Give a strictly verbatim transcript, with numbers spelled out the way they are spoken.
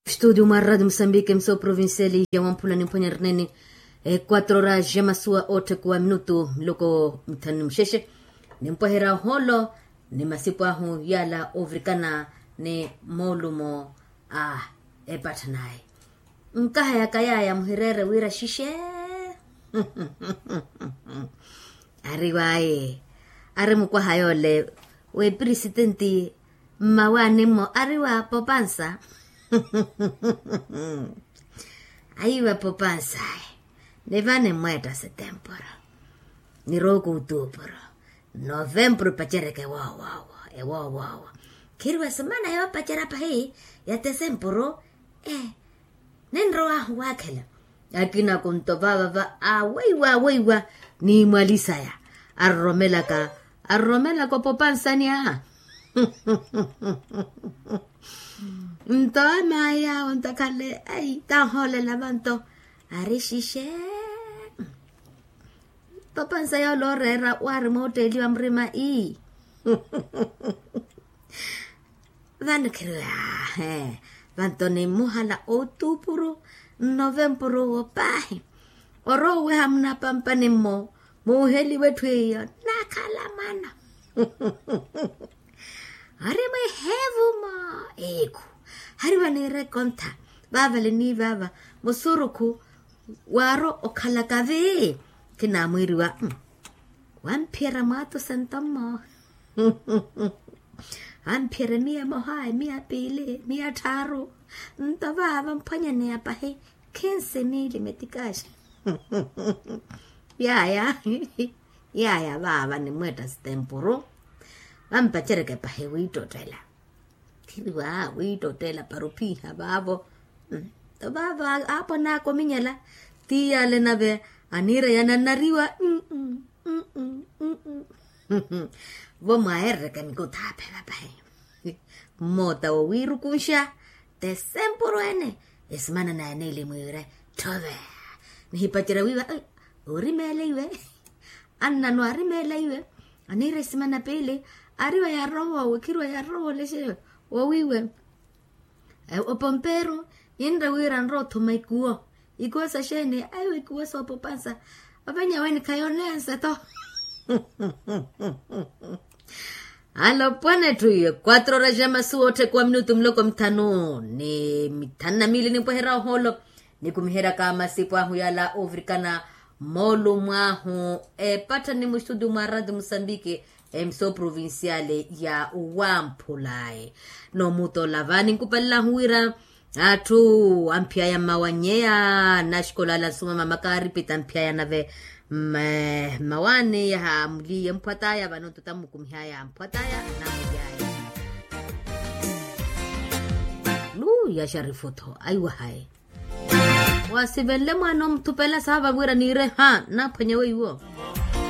Studio mwa radio mosambike mso provincial ya wamphula ni mphwanya rinene. E quatro horas ya masuwa otthe kuwa minutu miloko mithanu ni muxexe. Nimpweherya oholo ni masipu ahu yala ovirikana ni moolumo a epattha naye. Nkahayaka yaya muhireere wira xixe. Ari waye ari mukwaha yole wepirisitenti mmawaani mmo ari wa popansa. Ayiwa popansa. Ni vani mmweetta setempuru ni rooku utuupuru novempuru pacereke woowowo ewoowowo. Khiriwa semana yoopacerya pahi ya tesempuru. Ninrowahu waakhela akina kunto vaava va aweiwa aweiwa. Ni mwalisaya aroromelaka aroromelaka opopansani a nto amaya onto akhale ai tanhoolela vanto ari xixe. Popansa yoole oreera waari mootteeliwa murima ii. Vano khiriwe ahe vanto ni mmuhala otuupuru nnovempuru wo paahi. Orowa oweha munapampani mmo muuheliwe etthu iyo nakhala mwana. Ari mweheevu mmo eekhu hariwa niire ekontha vaavale ni vaava musurukhu waaro okhalaka vi. Kinaamwiiriwa wamphiyerya mwaatu sento mmo. Amphiyerya miya emoha emiya piili miya tthaaru. Nto vaava mphwanyaneya pahi khinsi miili metikaaxa. Yaya yaya vaava nimweetta sitempuru vampaceryeke pahi wiittottela. Khiriwa wiittottela para ophiha vaavo. Nto vaavo aapo naaka ominyala ti yaale nave aniira yanannariwa. Vo mwaherereke mikuthaaphe vapahi mmoota wo wiirukunxa tesempuru ene. Esimana naye niili mwiire tthove nihipacerya wiiva orimeela iwe. Annano arimeela iwe aniira esimana piili ariwa yarowa owe khiriwa yarowa olexe wowiiwe. Opomperu ninre wira nrowa othuma ikuwo. Ikuwo saxeeni aiwa ikuwo soopopansa. Ovenyaweni khayoneya nseto. Alopwana etthu iwe quatro horas ya masuwa otthekuwa minutu miloko mithanu ni mithanu na miili nimpweherya ohoolo. Nikumiheryaka masipu ahu yala ovirikana moolumo ahu epattha ni mustudio mwa radio mosambike. Emso provinciale ya wamphulayi nomutola vaani nkupalela ahu wira atthu amphiyaya mmawanyeya naxikola ala nsuma mama kaaripita amphiyaya nave mmawaani yaha muliye mphwataya vano nto tamukumihaya mphwataya namulyaya. Luya xarifu tho aiwahayi. Wasivenle mwaana omuthupela saava wira niire ha naphwanya weiwo.